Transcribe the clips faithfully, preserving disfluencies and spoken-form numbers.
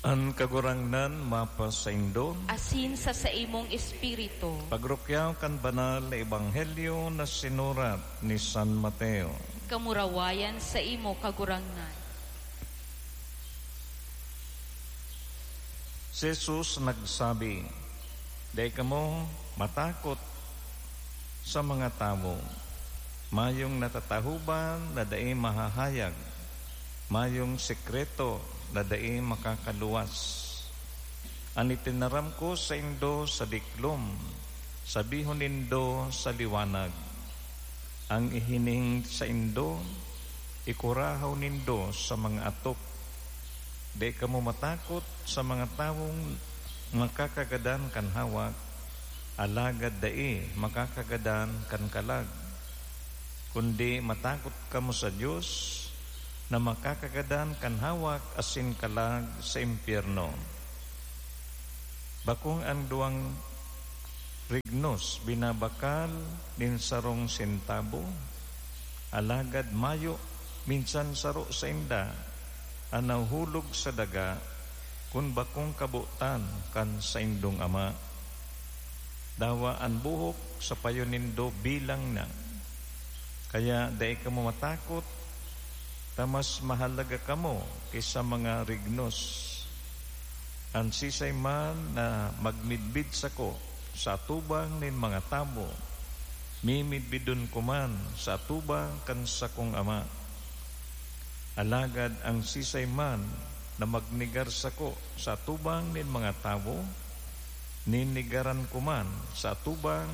An Kagurangnan mapasaindo. Asin sa saimong espiritu. Pagrukyaw kan banal na ebanghelyo na sinurat ni San Mateo. Kamurawayan saimo, Kagurangnan. Si Jesus nagsabi, "Dai kamo matakot sa mga tawo. Mayong natatahoban na dai mahahayag, mayong sekreto na dai makakaluwas. An itinaram ko saindo sa diklom, sabihon nindo sa liwanag. An ihiling saindo, ikurahaw nindo sa mga atop. Dai kamo matakot sa mga tawong makakagadan kan hawak, alagad dai makakagadan kan kalag. Kundi matakot kamo sa Dios, na makakagadan kan hawak asin kalag sa impyerno. Bakong an duwang rignos binabakal nin sarong sentabo, alagad mayo minsan saro sainda an nahuhulog sa daga kun bakong kabotan kan saindong Ama. Dawa an buhok sa payo nindo bilang na. Kaya dai kamo matakot, ta mas mahalaga kamo ki sa mga rignos. An siisay man na magmidbid sako sa atubang nin mga tawo, mimidbidon ko man sa atubang kan sakong Ama. Alagad an siisay man na magnegar sako sa atubang nin mga tawo, nenegaran ko man sa atubang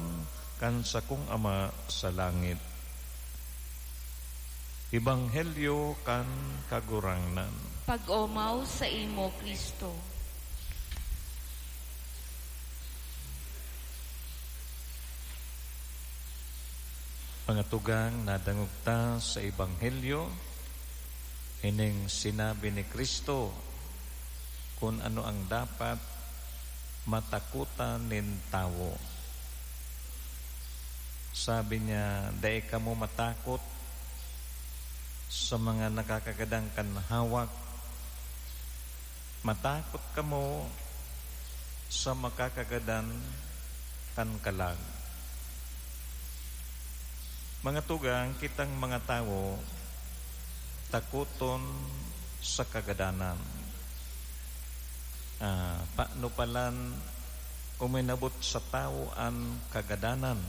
kan sakong Ama sa langit." Ebanghelyo kan Kagurangnan. Pag-omaw saimo, Cristo. Mga tugang, nadangog ta sa Ebanghelyo, ining sinabi ni Cristo kun ano ang dapat matakotan nin tawo. Sabi niya, "Dai kamo matakot sa mga nakakagadan kan hawak. Matakot kamo sa makakagadan kan kalag." Mga tugang, kitang mga tawo takoton sa kagadanan. Ah, paano palan uminabot sa tawo an kagadanan?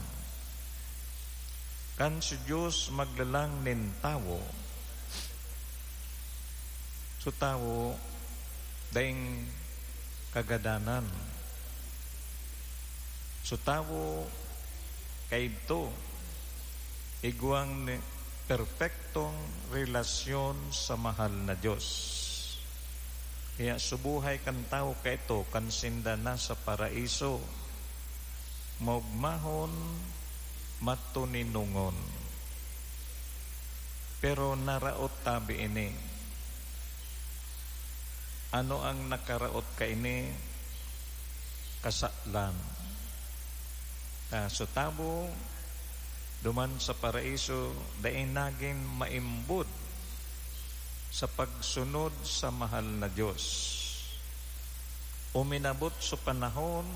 Kan si Dios maglalang nin tawo, so tawo daing kagadanan. So tawo kaidto, igwang ni perpektong relasyon sa mahal na Dios. Kaya subuhay kan tawo kaito kan sinda nasa paraiso, maogmahon, matoninongon. Pero naraot tabi ini. Ano ang nakaraot kaini? Kasalan. Ah, so tawo, duman sa paraiso, dai nagin maimbod sa pagsunod sa mahal na Dios. Uminabot so panahon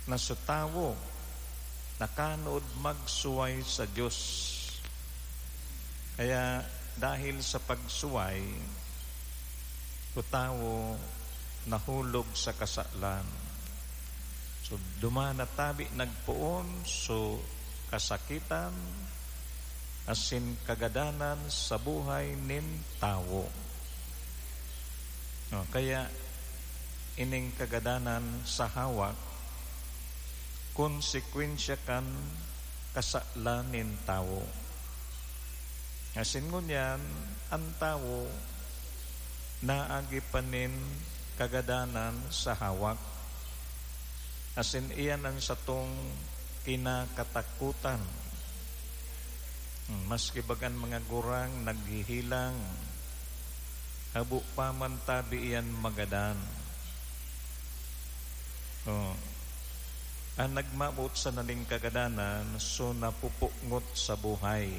na so tawo nakanood magsuway sa Dios. Kaya dahil sa pagsuway, so tawo nahulog sa kasalan. So, duman na tabi nagpoon so kasakitan asin kagadanan sa buhay nin tawo. No, kaya ining kagadanan sa hawak, konsekwensya kan kasalan nin tawo. Asin ngunyan, an tawo naagi pa nin kagadanan sa hawak, asin iyan an satong kinakatakotan. Hmm, maski bagan mga gurang naghihilang, habo pa man tabi iyan magadan. Oh. An nagmamot sana nin kagadanan, so napupukngot sa buhay.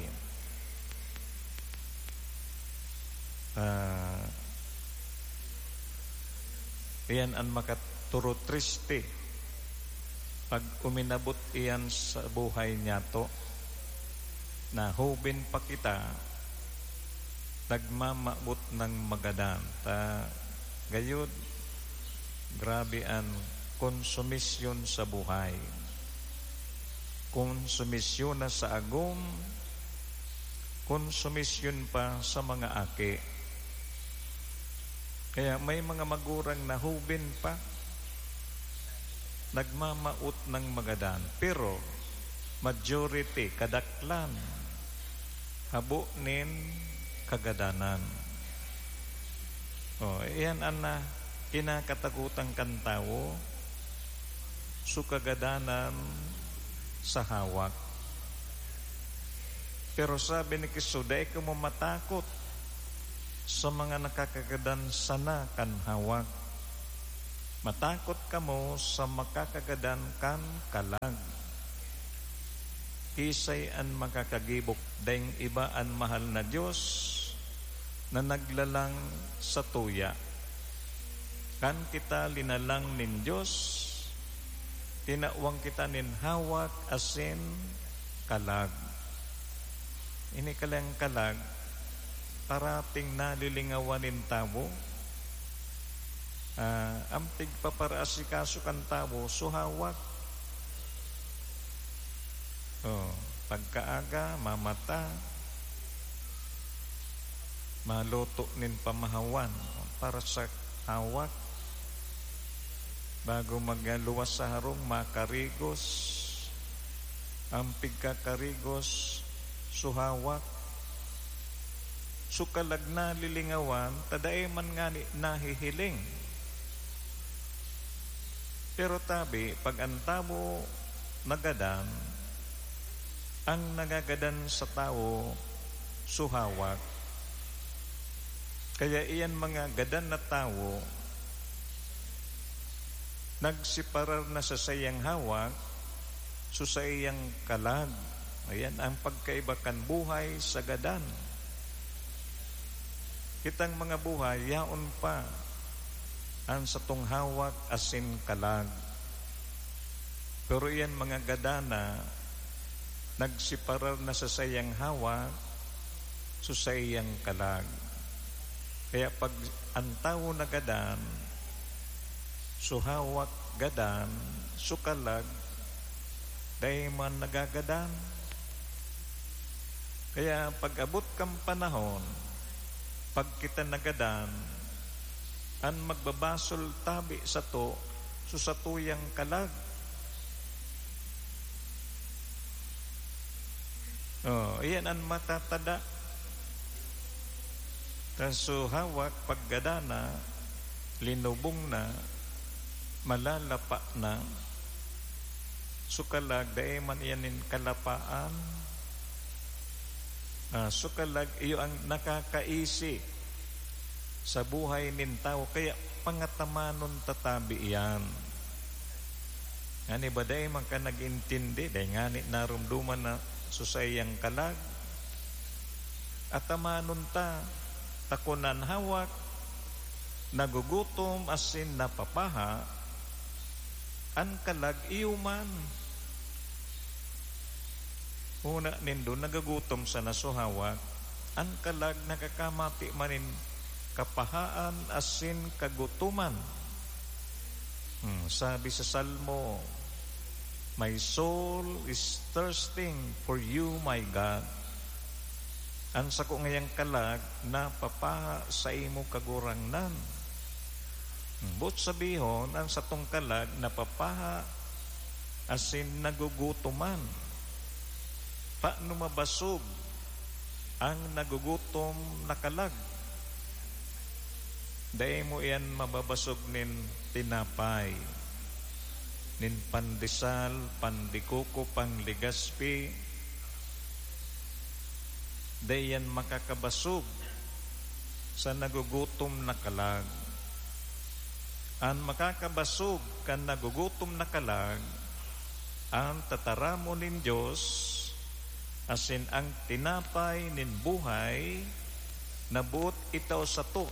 Ah, Iyan an makaturutriste pag uminabot iyan sa buhay niyato. Na hoben pa kita, nagmamabot ng magadan. Ta, gayud, grabe an konsumisyon sa buhay. Konsumisyon na sa agom, konsumisyon pa sa mga aki. Kaya may mga magurang na hoben pa, nagmamawot ng magadan, pero majority, kadaklan, habo nin kagadanan. Oh, iyan an, ah, kinakatagotan kan tawo, so kagadanan sa hawak. Pero sabi ni Cristo, "Dai kamo matakot sa mga nakakagadan sana kan hawak. Matakot kamo sa makakagadan kan kalag." Kiisay an makakagibo? Daing iba an mahal na Dios na naglalang sa tuya. Kan kita linalang nin Dios, tinawan kita nin hawak asin kalag. Ini kalang kalag, parating nalilingawan nin tawo. Ah, an pigpaparaasikaso kan tawo, so hawak. Oh, pagkaaga, mamata, maluto nin pamahawan para sa hawak. Bago magluwas sa harong, makarigos. An pigkakarigos, so hawak. So kalag nalilingawan, ta dai man ngani nahihiling. Pero tabi, pag an tawo nagadan, ang nagagadan sa tawo, so hawak. Kaya iyan mga gadan na tawo, nagseparar na sa saiyang hawak, so saiyang kalag. Ayan ang pagkaiba kan buhay sa gadan. Kitang mga buhay, yaon pa an satong hawak asin kalag. Pero iyan mga gadan na nagseparar na sa saiyang hawak, so saiyang kalag. Kaya pag an tawo nagadan, so hawak gadan, so kalag dai man nagagadan. Kaya pag-abot kan panahon, pag kita nagadan, an magbabasol tabi sato, so satuyang kalag. Oh, iyan an matatada. Kan so hawak, paggadan na, linubong na, malalapa na, so kalag, dai man iyan nin kalapaan. Ah, so kalag, iyo ang nakakaisi sa buhay nin tawo, kaya pangatamanon ta tabi iyan. Ngani ba dai man ka nag-intindi, dai ngani narumduman na so saiyang kalag? Atamanon ta, ta kun an hawak nagugutom asin napapaha, an kalag iyo man. Huna nindo, nagagutom sana so hawak, an kalag nakakamati man nin kapahaan asin kagutoman. Hmm, sabi sa Salmo, "My soul is thirsting for you, my God." An sako ngayang kalag napapaha sa imo, Kagurangnan. Hmm, boot sabihon, an satong kalag napapaha asin nagugutoman. Paano mabasog ang nagugutom na kalag? Dai mo iyan mababasog nin tinapay, nin pandesal, pan de coco, pan Legazpi. Dai iyan makakabasog sa nagugutom na kalag. An makakabasog kan nagugutom na kalag, an tataramon nin Dios, asin ang tinapay nin buhay na boot itao sato,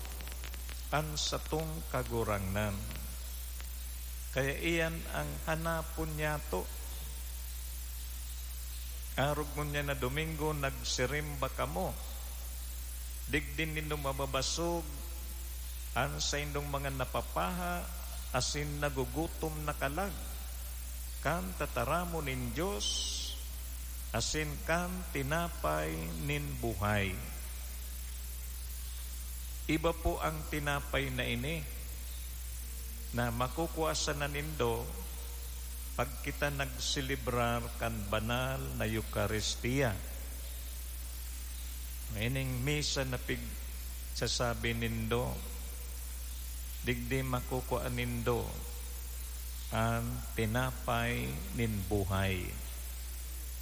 an satong Kagurangnan. Kaya iyan ang hanapon niyato. Arog ngunyan na Domingo, nagsirimba kamo. Digdi nindo mababasog an saindong mga napapaha asin nagugutom na kalag, kan tataramon nin Dios asin kan tinapay nin buhay. Iba po ang tinapay na ini na makukua sana nindo pag kita nagselebrar kan banal na Eukaristia. Ining misa na pigsasabi nindo, digdi makukua nindo an tinapay nin buhay.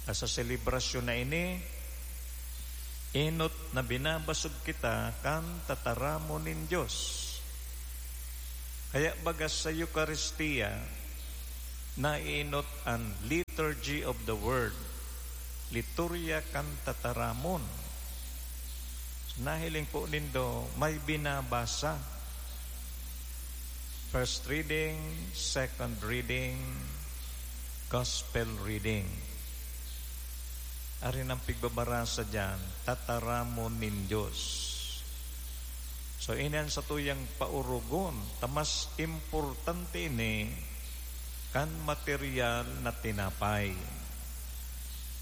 Sa selebrasyon na ini, enot na binabasog kita kan tataramon nin Dios. Kaya baga sa Eukaristia, naienot an Liturgy of the Word, liturya kan tataramon. Nahiling po nindo, may binabasa. First reading, second reading, gospel reading. Ari nang pigbabarasa diyan, tataramon nin Dios. So, ini an satuyang paurugon, ta mas importante ini kan material na tinapay.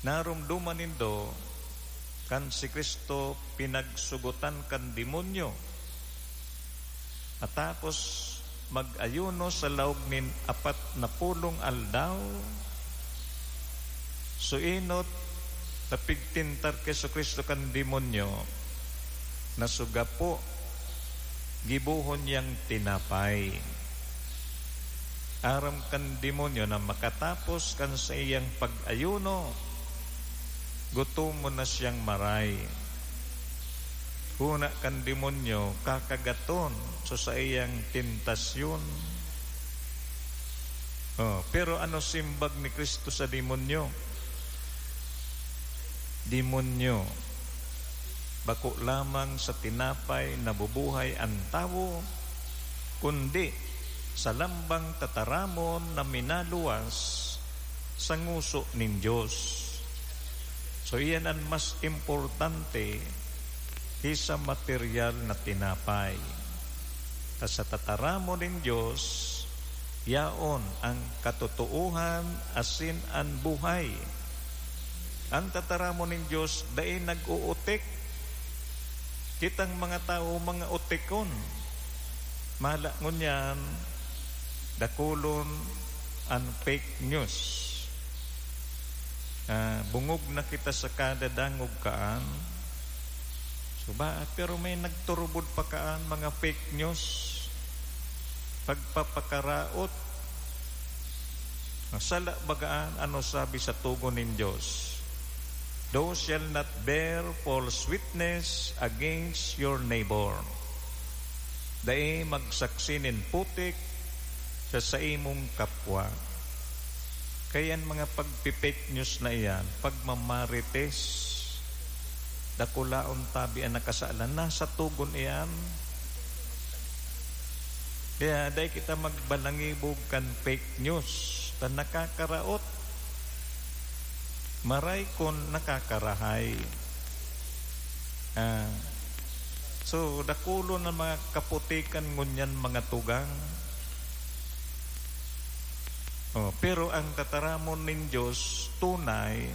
Naromdoman nindo kan si Cristo pinagsugotan kan demonyo, atakos mag-ayuno sa laog nin apat na pulong aldaw. So, enot na pigtintar ki Jesu-Cristo kan demonyo, na sa gapo, gibohon niyang tinapay. Aram kan demonyo na makatapos kan saiyang pag-ayuno, gutomon na siyang maray. Hona kan demonyo, kakagaton sa saiyang tentasyon. Oh, pero ano simbag ni Cristo sa demonyo? Demonyo, bako lamang sa tinapay nabubuhay an tawo, kundi sa lambang tataramon na minaluwas sa ngoso nin Dios. So, iyan an mas importante ki sa material na tinapay. Ta sa tataramon nin Dios, yaon an katotoohan asin an buhay. An tataramon nin Dios dai nag-uutik. Kitang mga tawo, mga utikon. Mala ngunyan, dakulon an fake news. Ah, bungog na kita sa kada dangog kaan. So ba, pero may nagturubod pa kaan, mga fake news, pagpapakaraot. Sala bagaan, ano sabi sa Togon nin Dios? "Thou shalt not bear false witness against your neighbor." Dai magsaksi nin putik sa saimong kapwa. Kaya an mga pagpi-fake news na iyan, pagmamarites, dakulaon tabi an nakasalan, nasa Togon iyan. Kaya dai kita magbalangibog kan fake news, ta nakakaraot. Maray kun nakakarahay. Ah, so, dakulon an mga kaputikan ngunyan, mga tugang. Oh, pero ang tataramon nin Dios tunay,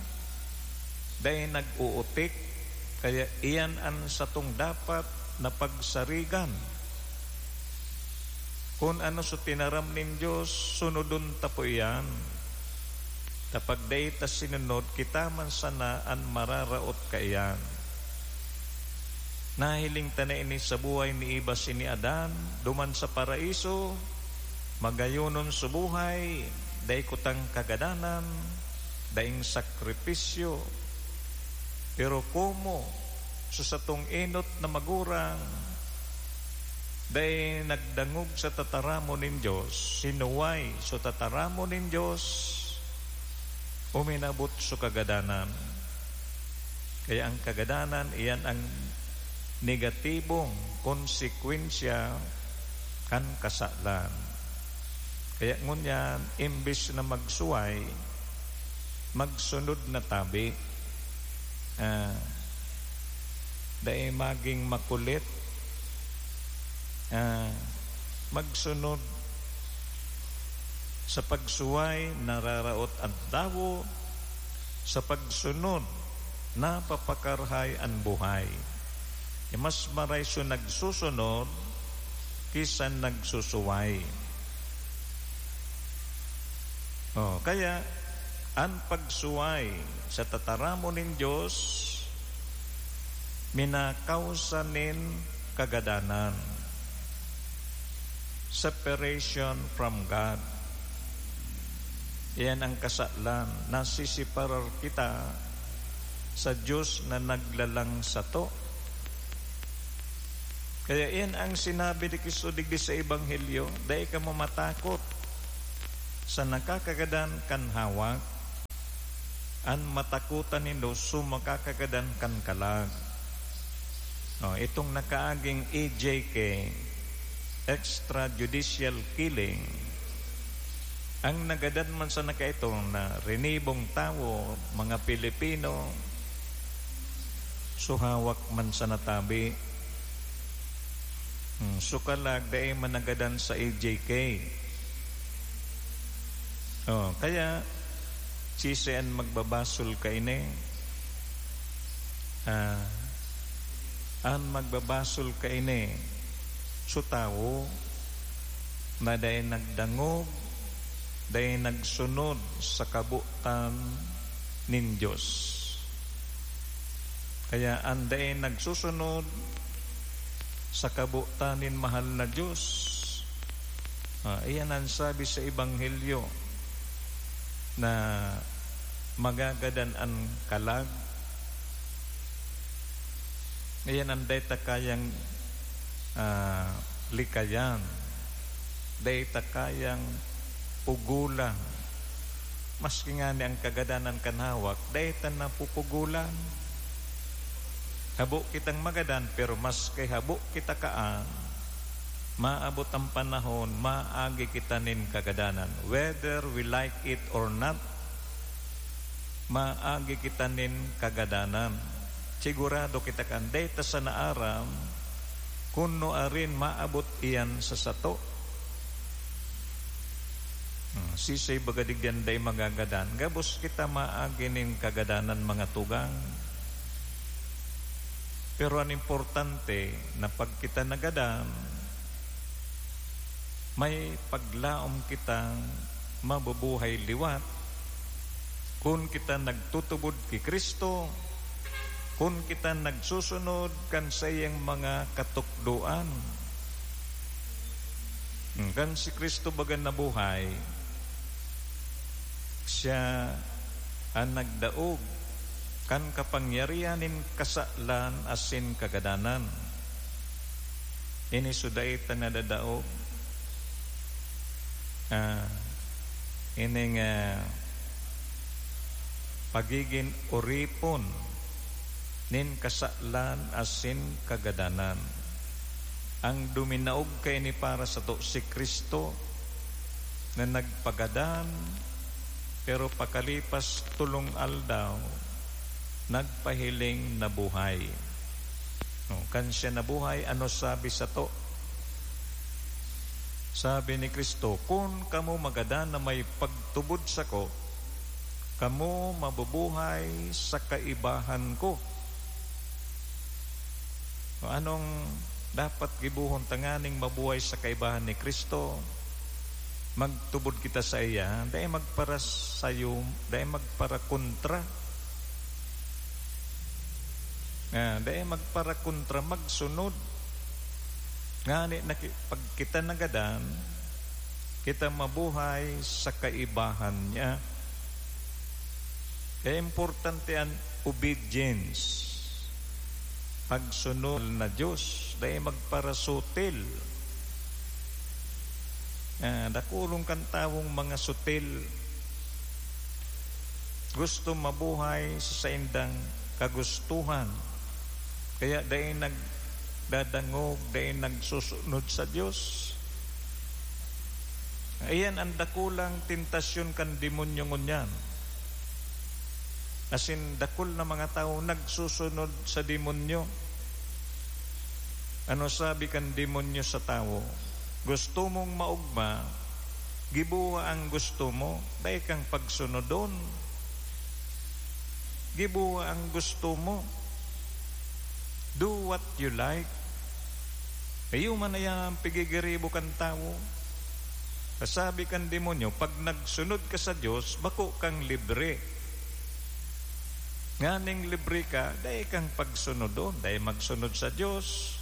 dai nag-uutik, kaya iyan an satong dapat na pagsarigan. Kun ano sa tinaram nin Dios, sunodon ta po iyan. Ta pag dai ta sinunod, kita man sana an mararaot kaiyan. Nahiling ta na ini sa buhay ni Eva asin ni Adan, duman sa Paraiso, magayonon sa buhay, dai kutang kagadanan, daing sakripisyo. Pero komo sa satong enot na magurang, dai nagdangog sa tataramon nin Dios, sinuway sa tataramon nin Dios, uminabot sa kagadanan. Kaya ang kagadanan, iyan ang negatibong konsekwensya kan kasalan. Kaya ngunyan, imbis na magsuway, magsunod na tabi. Ah, dai maging makulit. Ah, magsunod. Sa pagsuway, nararaot an tawo. Sa pagsunod, napapakarahay an buhay. E mas maray so nagsusunod ki sa nagsusuway. Oh, kaya an pagsuway sa tataramon nin Dios minakawsa nin kagadanan, separation from God. Iyan ang kasalan, nasiseparar kita sa Dios na naglalang sato. Kaya iyan ang sinabi ni Cristo digdi sa Ebanghelyo, "Dai kamo matakot sa nakakagadan kan hawak, an matakotan nindo so makakagadan kan kalag." Oh, itong nakaaging E J K, extrajudicial killing, ang nagadan man sana kaito na rinibong tawo, mga Pilipino, so hawak man sana tabi. Hmm, so kalag, dai man nagadan sa E J K. Oh, kaya, siisay an magbabasol kaini? Ah, an magbabasol kaini, so tawo na dai nagdangog, dai nagsunod sa kabotan nin Dios. Kaya an dai nagsusunod sa kabotan nin mahal na Dios, ah, iyan an sabi sa Ebanghelyo na magagadan an kalag. Iyan an dai ta kayang, ah, likayan, dai ta kayang pugolan. Maski ngani an kagadanan kan hawak, dai ta napupugolan. Habo kitang magadan, pero maski habo kita kaan, maabot an panahon, maagi kita nin kagadanan. Whether we like it or not, maagi kita nin kagadanan. Sigurado kita kan dai ta sana aram kun nuarin maabot iyan sa sato. Hmm, siisay baga digdi an dai magagadan? Gabos kita maagi nin kagadanan, mga tugang. Pero an importante na pag kita nagadan, may paglaom kitang mabubuhay liwat kun kita nagtutubod ki Cristo, kun kita nagsusunod kan saiyang mga katukdoan. Kan si Cristo baga nabuhay, siya an nagdaog kan kapangyarihan nin kasalan asin kagadanan. Ini so dai ta nadadaog. Ah, ining, ah, pagigin oripon nin kasalan asin kagadanan. Ang duminaog kaini para sato si Cristo na nagpagadan, pero pakalipas tolong aldaw, nagpahiling na buhay. No, kan siya nabuhay, ano sabi sato? Sabi ni Cristo, "Kun kamo magadan na may pagtubod sako, kamo mabubuhay sa kaibahan ko." O, anong dapat gibohon tanganing mabuhay sa kaibahan ni Cristo? Magtubod kita saiya, dai magparasayo, dai magparakontra. Ah, dai magparakontra, magsunod. Ngani na ki-, pag kita nagadan, kita mabuhay sa kaibahan niya. Kaya importante an obedience, pagsunod na Dios, dai magparasutil. Ah, dakulon kan tawong mga sutil, gusto mabuhay sa saindang kagustuhan, kaya dai nagdadangog, dai nagsusunod sa Dios. Iyan an dakulang tentasyon kan demonyo ngunyan. Asin dakul na mga tawo nagsusunod sa demonyo. Ano sabi kan demonyo sa tawo? "Gusto mong maogma, gibuha ang gusto mo, dai kang pagsunodon. Gibuha ang gusto mo. Do what you like." Iyo man na yan ang pigigiribo kan tawo. Kasabi kan demonyo, "Pag nagsunod ka sa Dios, bako kang libre. Nganing libre ka, dai kang pagsunodon, dai magsunod sa Dios,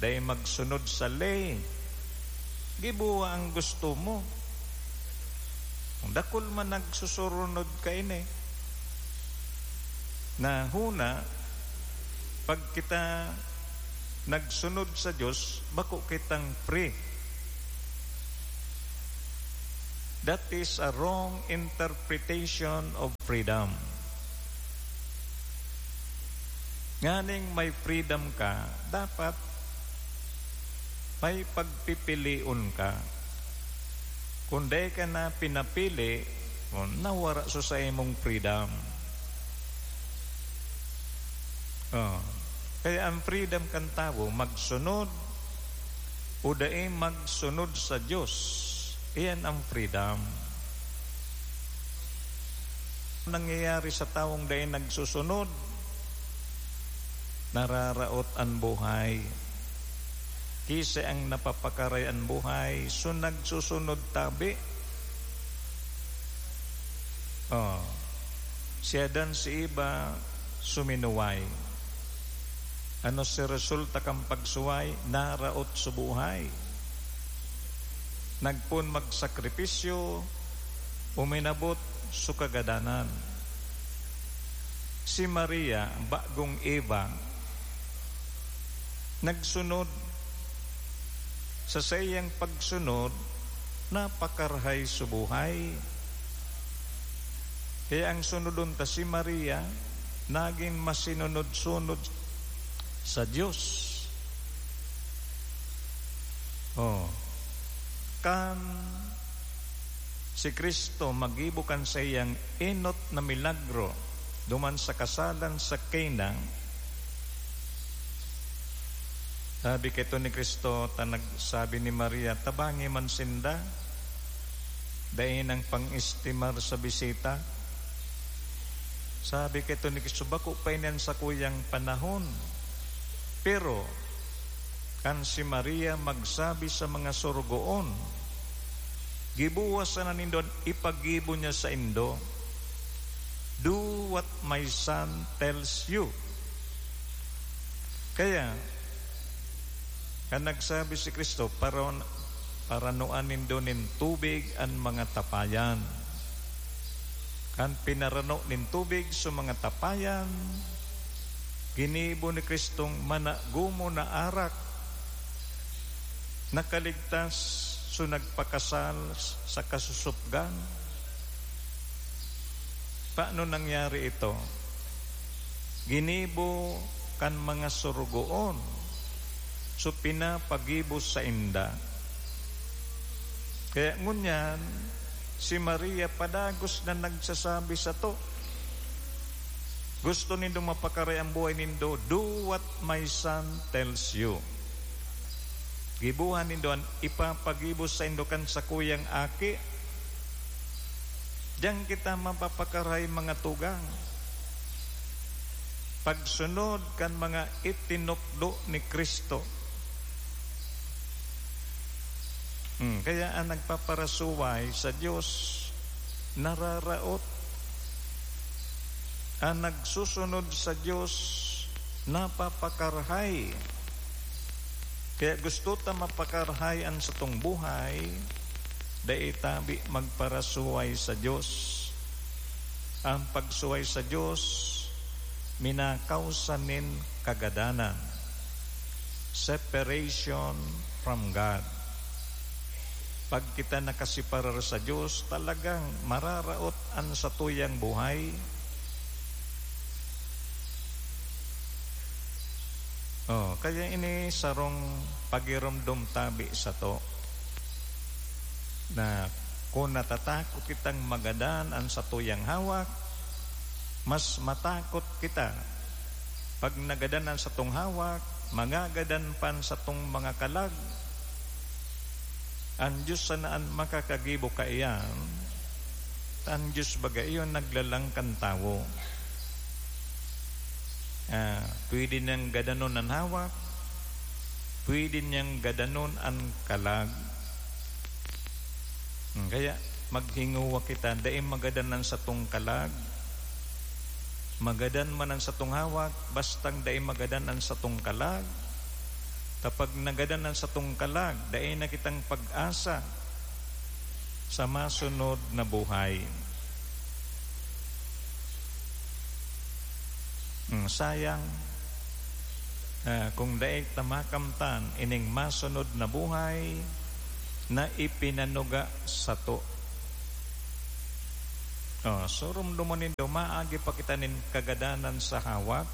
dai magsunod sa ley. Gibuha ang gusto mo." Dakul man nagsusurunod kaini. Na huna, pag kita nagsunod sa Dios, bako kitang free. That is a wrong interpretation of freedom. Nganing may freedom ka, dapat may pagpipilion ka. Kung dai ka na pinapili, o, nawara sa saimong freedom. Oh. Kaya ang freedom kan tawo, magsunod o dai magsunod sa Dios, iyan ang freedom. Nangyayari sa tawong dai nagsusunod, nararaot an buhay. Ki siya ang napapakaray an buhay, so nagsusunod tabi. Oh. Si Adan, si Eva, suminuway. Ano si resulta kan pagsuway? Naraot sa buhay. Nagpoon magsakripisyo, uminabot sa kagadanan. Si Maria, bagong Eva, nagsunod. Sa saiyang pagsunod, napakarahay sa buhay. Kaya ang sunodon ta si Maria, nagin masinunod-sunod sa Dios. Oh. Kan si Cristo maggibo kan saiyang enot na milagro duman sa kasalan sa Cana, sabi kaito ni Cristo, ta nagsabi ni Maria, "Tabangi man sinda, dai nang pang-estimar sa bisita." Sabi kaito ni Cristo, "Bako pa ini an sakuyang panahon." Pero, kan si Maria magsabi sa mga sorogoon, "Giboha sana nindo an ipaggibo niya saindo. Do what my son tells you." Kaya, kan nagsabi si Cristo, "Paron-, paranuan nindo nin tubig an mga tapayan." Kan pinarano nin tubig sa mga tapayan, ginibo ni Cristong managumon na arak. Nakaligtas, so nagpakasal sa kasusupgan. Paano nangyari ito? Ginibo kan mga sorogoon, so pinapagibo sainda. Kaya ngunyan, si Maria padagos na nagsasabi sato, "Gusto nindo mapakaray an buhay nindo, do what my son tells you." Giboha nindo an ipapagibo saindo kan sakuyang aki. Diyan kita mapapakarahay, mga tugang. Pagsunod kan mga itinukdo ni Cristo. Hmm, kaya ang nagpaparasuway sa Dios, nararaot. An nagsusunod sa Dios napapakarahay. Kaya gusto ta mapakarahay an satong buhay, dai tabi magparasuway sa Dios. Ang pagsuway sa Dios, minakawsa nin kagadanan, separation from God. Pag kita nakasiparar sa Dios, talagang mararaot an satuyang buhay. Oh, kaya ini sarong pagiromdom tabi sato. Na kun natatakot kitang magadan an satuyang hawak, mas matakot kita pag nagadan an satong hawak, magagadan pa an satong mga kalag. An Diyos sana an makakagibo kaiyan, ta an Diyos baga iyo naglalang kan tawo. Ah, pwede niyang gadanon an hawak, pwede niyang gadanon an kalag. Hmm, kaya maghingowa kita, dai magadan an satong kalag. Magadan man an satong hawak, bastang dai magadan an satong kalag. Ta pag nagadan an satong kalag, dai na kitang pag-asa sa masunod na buhay. Hmm, sayang, ah, kung dai ta makamtan ining masunod na buhay na ipinanuga sato. Oh, so, rumdumon nindo, maagi pa kita nin kagadanan sa hawak.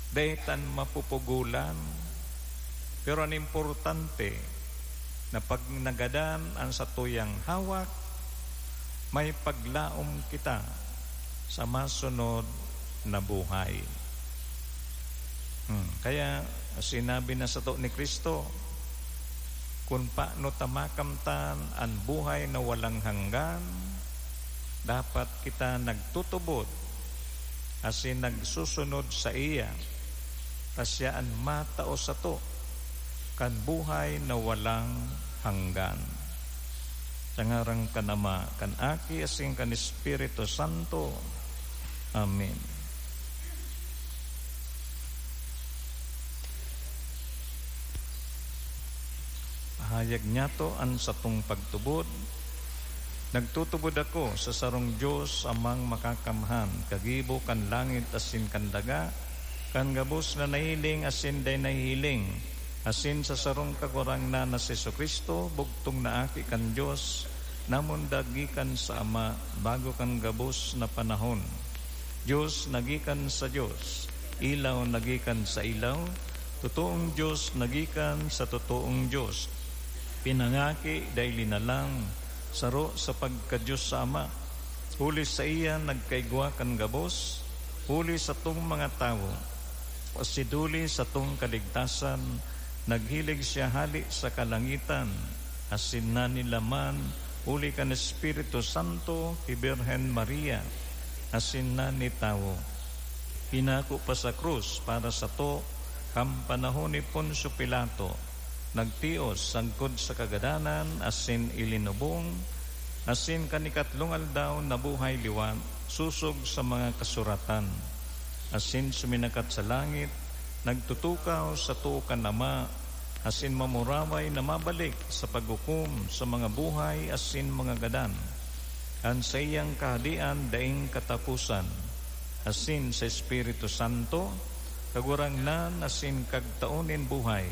Dai tan mapupugolan. Pero an importante, na pag nagadan an satuyang hawak, may paglaom kita sa masunod na buhay. Hmm, kaya sinabi na sato ni Cristo, kun paano ta makamtan an buhay na walang hanggan, dapat kita nagtutubod asin nagsusunod saiya, ta siya an matao sato kan buhay na walang hanggan. Sa ngaran kan Ama, kan Aki, asin kan Espiritu Santo. Amen. Pahayag niyato an satong pagtubod. Nagtutubod ako sa sarong Dios, Amang Makakamhan, kagibo kan langit asin kan daga, kan gabos na nahiling asin dai nahihiling, asin sa sarong Kagurangnan na si Jesu-Cristo, bugtong na Aki kan Dios, namundag gikan sa Ama, bago kan gabos na panahon. Dios na gikan sa Dios, ilaw na gikan sa ilaw, totoong Dios na gikan sa totoong Dios. Pinangaki, dai linalang, saro sa pagka-Dios sa Ama. Huli saiya nagkaigwa kan gabos, huli satong mga tawo. Asin huli satong kaligtasan, naghilig siya hale sa kalangitan, asin nanilaman huli kan Espiritu Santo ki Birhen Maria, asin nanitawo. Pinako pa sa krus para sato kan panahon ni Poncio Pilato, nagtios sagkod sa kagadanan asin ilinubong, asin kan ikatlong aldaw nabuhay liwat sosog sa mga kasuratan, asin suminakat sa langit, nagtutukaw sa too kan Ama, asin mamuraway na mabalik sa paghukom sa mga buhay asin mga gadan. An saiyang Kahadean daing kataposan, asin sa Espiritu Santo, Kagurangnan asin Kagtao nin buhay,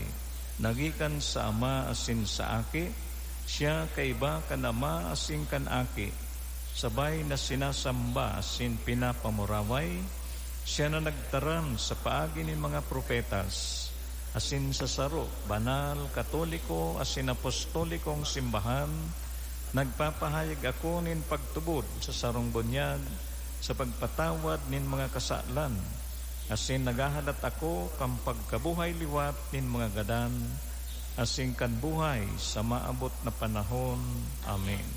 na gikan sa Ama asin sa Aki, siya kaiba kan Ama asin kan Aki, sabay na sinasamba asin pinapamuraway, siya na nagtaram sa paagi nin mga propetas, asin sa saro, banal, katoliko, asin apostolikong simbahan, nagpapahayag ako nin pagtubod sa sarong bunyag sa pagpatawad nin mga kasalan, asin naghahalat ako kan pagkabuhay liwat nin mga gadan, asin kan buhay sa maabot na panahon. Amen.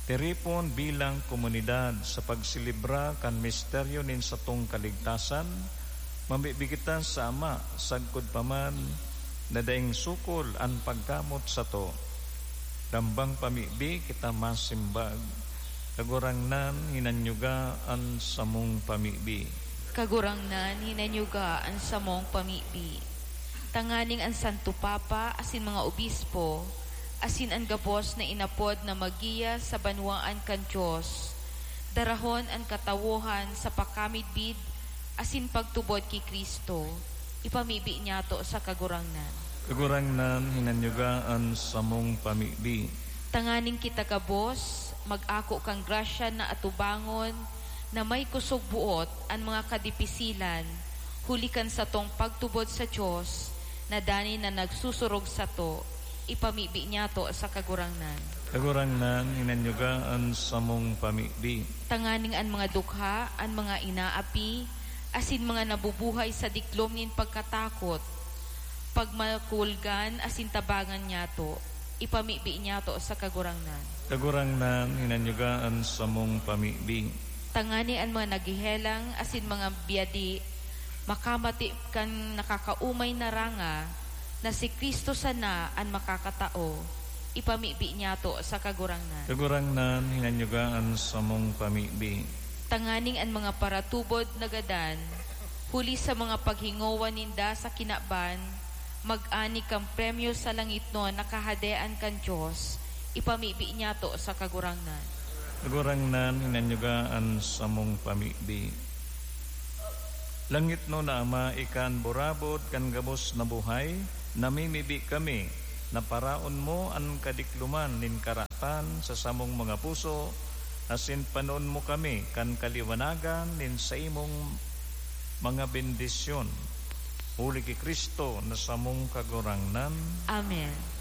Tiripon bilang komunidad sa pagselebra kan misteryo nin satong kaligtasan, mamibi kita sa Ama, sagkod pa man na daing sukol an pagkamot sato. Dambang pamibi kita masimbag, Kagurangnan, hinanyuga an samong pamibi. Kagurangnan, hinanyuga an samong pamibi. Tanganing an Santo Papa asin mga obispo, asin an gabos na inapod na maggiya sa banwaan kan Dios, darahon an katawohan sa pakamidbid asin pagtubod ki Cristo, ipamibi niyato sa Kagurangnan. Kagurangnan, hinanyuga an samong pamibi. Tanganing kita gabos mag-ako kan grasya na atubangon na may kosog boot an mga kadipisilan, huli kan satong pagtubod sa Dios, na dani na nagsusurog sato, ipamibi niyato sa Kagurangnan. Kagurangnan, hinanyuga an samong pamibi. Tanganing an mga dukha, an mga inaapi, asin mga nabubuhay sa diklom nin pagkatakot, pagmakulgan asin tabangan niyato, ipamibi niyato sa Kagurangnan. Kagurangnan, hinanyuga an samong pamibi. Tanganing an mga naghehelang asin mga biyadi makamati kan nakakaumay na ranga na si Cristo sana an makakatao, ipamibi niyato sa Kagurangnan. Kagurangnan, hinanyuga an samong pamibi. Tanganing an mga paratubod na gadan, huli sa mga paghingowa ninda sa kinaban, mag-ani kan premyo sa langitnon na Kahadean kan Dios, ipamibi niyato sa Kagurangnan. Kagurangnan, hinanyuga an samong pamibi. Langitnon na Ama, ika an burabod kan gabos na buhay, namimibi kami na paraon mo an kadikloman nin karatan sa samong mga puso, asin panoon mo kami kan kaliwanagan nin saimong mga bendisyon. Huli ki Cristo na samong Kagurangnan. Amen.